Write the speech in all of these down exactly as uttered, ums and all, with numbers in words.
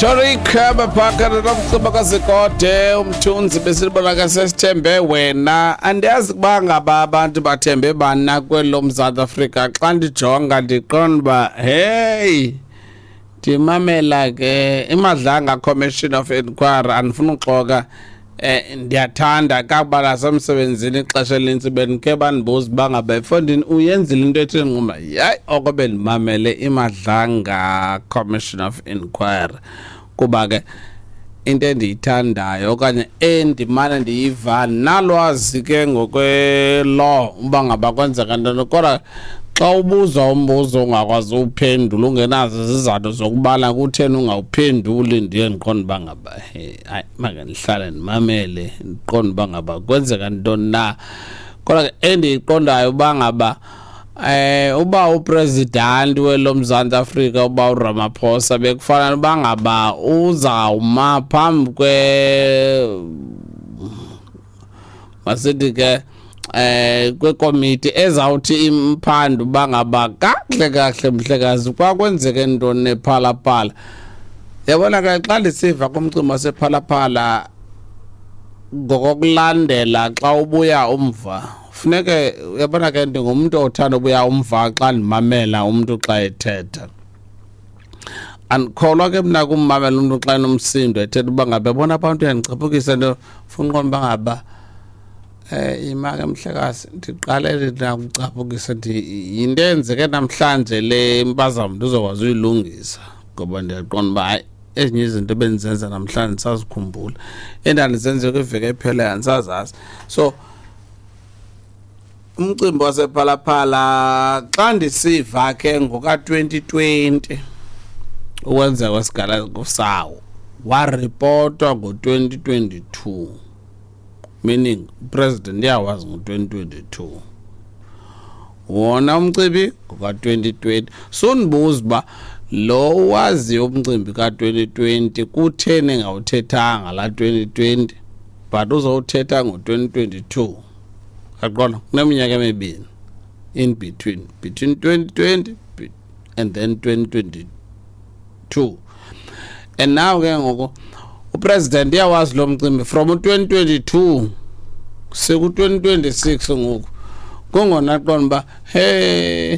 Rhetoric baphaka nomcimbi kaZikode umthunzi besilibona ke sesithembe wena. Andiyazi ukuba ngaba abantu bathembe bani na kwelo Mzantsi Afrika. Xa ndijonga ndiqonda uba hey, ndimamela ke iMadlanga Commission of Inquiry, andifuna uxoka, eh ndiyathanda kakuba nasemsebenzini ixesha elinintsi bendikhe bandibuza uba ngaba efondini uyenzile into ethi nquma yayi oko bendimamele iMadlanga Commission of Inquiry, kuba ke into endiyithandayo okanye endimane ndiyiva nalwazi ke ngokwe-law uba ngaba kwenzeka ntoni. Kodwa xa ubuzwa umbuzo ungakwazi uwuphendula, ungenazo izizathu zokubana kutheni ungawuphenduli, ndiye ndiqonde uba ngaba he, hayi, make ndihlale ndimamele ndiqonde uba ngaba kwenzeka ntoni na. Kodwa ke endiyiqondayo uba ngaba eh uba upresident welo Mzantsi Afrika uba uRamaphosa bekufanele uba ngaba uzawuma phambi kwe, masithi ke, eh kwekomiti ezawuthi imphando uba ngaba kakuhle kakuhle mhlekazi kwakwenzeke ntoni ePhalaphala. Yabona ke, xa ndisiva kumcimbi wasePhalaphala ngokokulandela, xa ubuya umva funeke uyabona ke, ndingumntu othanda ubuya umva xa ndimamela umntu xa ethetha. Andikholwa ke mna kummamela umntu xa enomsindo ethetha uba ngaba yabona abantu uyandicaphukisa nto, funa uqonda uba ngaba eh ima ke mhlekazi, ndiqalele nakucaphukisa ndi yinto eyenzeke namhlanje le impazamo ndizokwazi uyilungisa, ngoba ndiyaqonda uba hayi, ezinye izinto bendizenza namhlanje ndisazikhumbula, endandizenze kwiveki epheleyo andisazazi. So umcimbi wasePhalaphala xa ndisiva ke ngoka-twenty twenty ukwenzeka kwesiganeko sawo, waripotwa ngo-twenty twenty-two, meaning upresident uyawazi ngo-twenty twenty-two wona umcimbi ngoka-twenty twenty. Sundibuza uba lo waziyo umcimbi ka-twenty twenty kutheni engawuthethanga laa twenty twenty, but uzowuthetha ngo-twenty twenty-two. Yaqonda, kuneminyaka emibini in between between twenty twenty and then twenty twenty-two. And now ke ngoku upresident uyawazi lo mcimbi from u-twenty twenty-two seku-twenty twenty-six ngoku. Kungona qonda uba hey,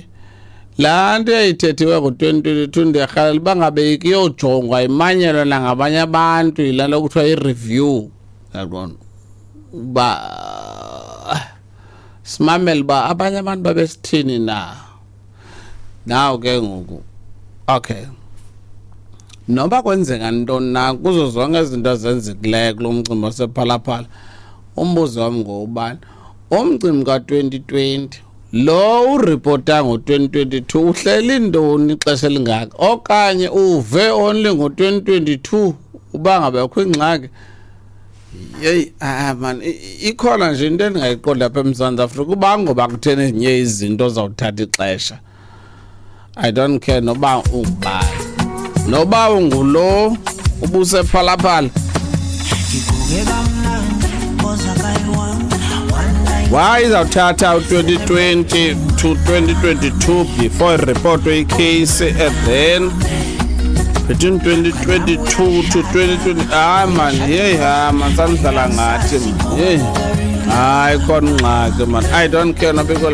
laa nto yayithethiwe ngo-twenty twenty-two ndiyarhalela uba ngabe ikuyojongwa imanyelwe nangabanye abantu, yilaa nto kuthiwa i-review. Yaqonda uba simamele uba abanye abantu babesithini na. Now ke ngoku okay, noba kwenzeka ntoni na kuzo zonke izinto ezenzekileyo kulo mcimbi wasePhalaphala, umbuzo wam ngowubani umcimbi ka-twenty twenty lo uripota ngo-twenty twenty-two uhleli ntoni ixesha elingaka, okanye uve only ngo-twenty twenty-two uba ngaba kukho ingxaki? Yeyi, ah man, ikhona nje into endingayiqondi apha eMzantsi Afrika, uba ngoba kutheni ezinye izinto zawuthatha ixesha. I don't care noba ungubani, noba ungulo ubusePhalaphala. Why izawuthatha u-twenty twenty to twenty twenty-two before iripotwe ikheyisi, and then between twenty twenty-two to twenty twenty? Hayi man, yeyi, hayi man, sanidlala ngathi man, yeyi, hayi khona ingxaki man. I don't care noba ikweli